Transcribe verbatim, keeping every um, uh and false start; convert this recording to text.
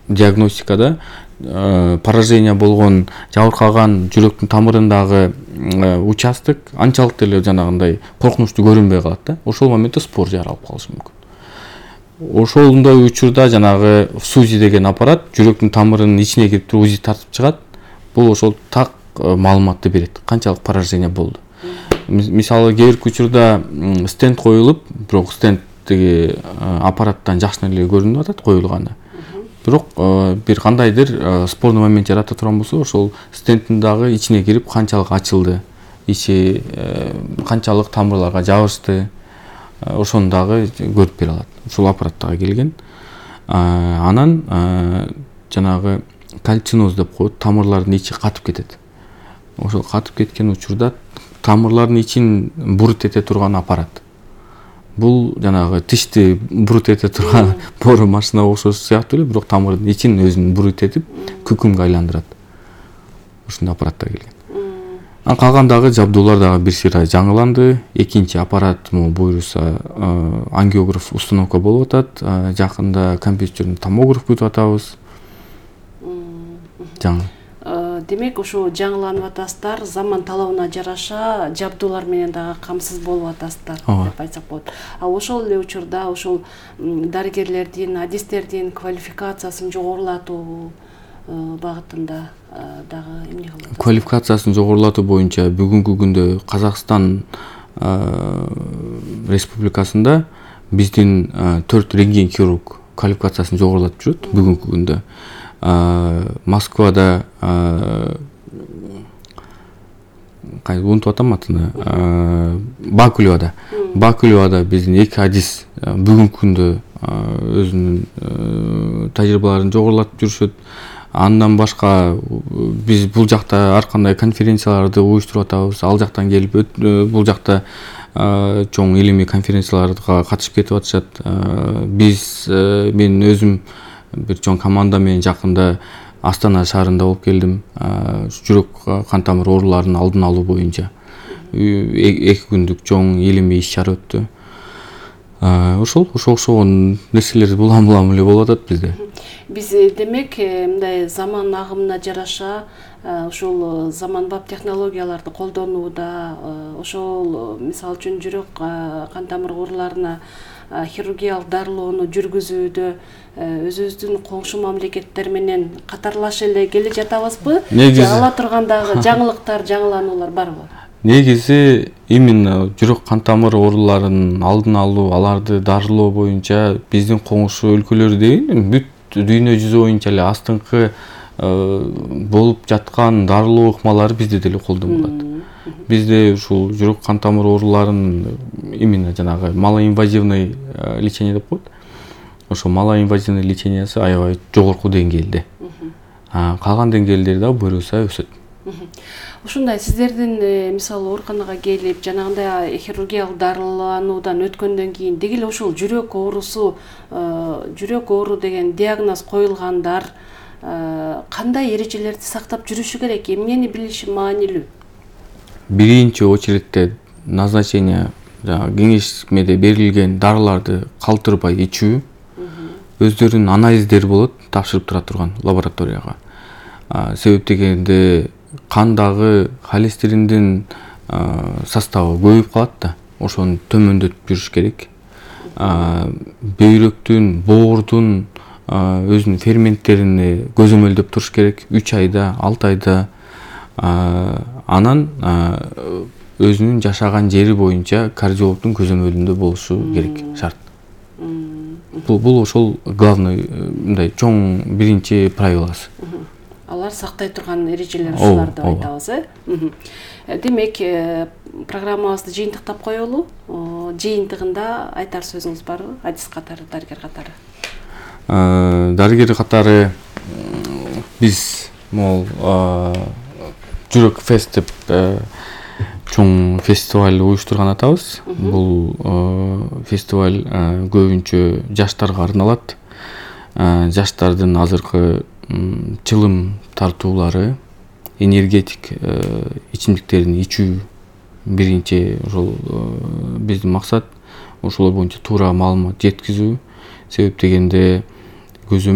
диагностикада поражение болгон, жабыркаган жүрөктүн тамырындагы участок анчалык деле жанагындай коркунучтуу көрүнбөй калат да. Ошол моментте спор жаралып калышы мүмкүн. Ошондой учурда жанагы СУЗИ деген аппарат жүрөктүн тамырынын ичине кирип туруп УЗИ тартып чыгат. Бул ошол так маалыматты берет. Канчалык поражение болду. Мисалы кээ бир учурда стенд коюлуп, бирок стендтеги аппараттан жакшы эле көрүнүп атат коюлганы. Бирок бир кандайдыр спорный момент жарата турган болсо, ошол стендтин дагы ичине кирип канчалык ачылды, ичи канчалык тамырларга жабышты, ошону дагы көрүп бере алат. Ушул аппараттагы келген. Анан жанагы кальциноз деп коет, тамырлардын ичи катып кетет. Ошол катып кеткен учурда тамырлардын ичин бурут эте турган аппарат. Бул жанагы тишти бурут эте турган бору машина окшош сыяктуу эле, бирок тамырдын ичин өзүн бурут этип күкүмгө айландырат. Ушундай аппараттар келген. Анан калгандагы жабдуулар дагы бир сыйра жаңыланды. Экинчи аппарат буюрса ангиограф установка болуп атат. Жакында компьютерный томограф күтүп атабыз. Жаңы. Демек, ошо жаңыланып атасыздар, заман талабына жараша жабдуулар менен дагы камсыз болуп атасыздар деп айтсак болот. А ошол эле учурда ошол дарыгерлердин, адистердин квалификациясын жогорулатуу багытында дагы эмне кылып атасыздар? Квалификациясын жогорулатуу боюнча бүгүнкү күндө Казакстан Республикасында биздин төрт рентген хирург квалификациясын жогорулатып жүрөт бүгүнкү күндө. Москвада кайсы унутуп атам атыны, Бакулевада. Бакулевада биздин эки адис бүгүнкү күндө өзүнүн тажрыйбаларын жогорулатып жүрүшөт. Андан башка биз бул жакта ар кандай конференцияларды уюштуруп атабыз. Ал жактан келип бул жакта чоң илимий конференцияларга катышып кетип атышат. Биз мен өзүм бир чоң команда менен жакында Астана шаарында болуп келдим. Жүрөк кан тамыр ооруларынын алдын алуу боюнча эки күндүк чоң илимий иш-чара өттү. Ошол ошо окшогон нерселер булам-булам эле болуп атат бизде. Биз демек мындай заман агымына жараша ушул заманбап технологияларды колдонууда, ошол мисалы үчүн жүрөк кан тамыр ооруларына хирургиялык дарылоону жүргүзүүдө өзүбүздүн коңшу мамлекеттер менен катарлаша эле келе жатабызбы? Же ала тургандагы жаңылыктар, жаңылануулар барбы? Негизи именно жүрөк кан тамыр ооруларынын алдын алуу, аларды дарылоо боюнча биздин коңшу өлкөлөр деген бүт дүйнө жүзү боюнча эле астыңкы болуп жаткан дарылоо ыкмалары бизде деле колдонулат. Бизде ушул жүрөк кан тамыр ооруларын именно жанагы малоинвазивный лечение деп коет. Ошо малоинвазивный лечениясы аябай жогорку деңгээлде. Калган деңгээлдери да буюрса өсөт. Ушундай сиздердин мисалы ооруканага келип, жанагындай хирургиялык дарылануудан өткөндөн кийин деги эле ушул жүрөк оорусу, жүрөк оору деген диагноз коюлгандар кандай эрежелерди сактап жүрүшү керек? Эмнени билиши маанилүү? Биринчи очередте назначение кеңешмеде берилген дарыларды калтырбай ичүү, өздөрүнүн анализдери болот, тапшырып тура турган лабораторияга. Себеп дегенде кандагы холестериндин составы көбөйүп калат да, ошону төмөндөтүп жүрүш керек. Бөйрөктүн, боордун өзүнүн ферменттерин көзөмөлдөп туруш керек үч айда, алты айда. Анан өзүнүн жашаган жери боюнча кардиологдун көзөмөлүндө болушу керек, шарт. Бул ошол главный мындай чоң биринчи правиласы. Алар сактай турган эрежелер ушулар деп айтабыз, э? Демек, программабызды жыйынтыктап коелу. Жыйынтыгында айтар сөзүңүз барбы? Адис катары, дарыгер катары. Дарыгер катары биз могул жүрөк фест деп чоң фестиваль уюштурган атабыз. Бул фестиваль көбүнчө жаштарга арналат. Жаштардын азыркы чылым тартуулары, энергетик ичимдиктерин ичүү биринчи ошол биздин максат. Ошол боюнча туура маалымат жеткизүү. Себеп дегенде көзөмөл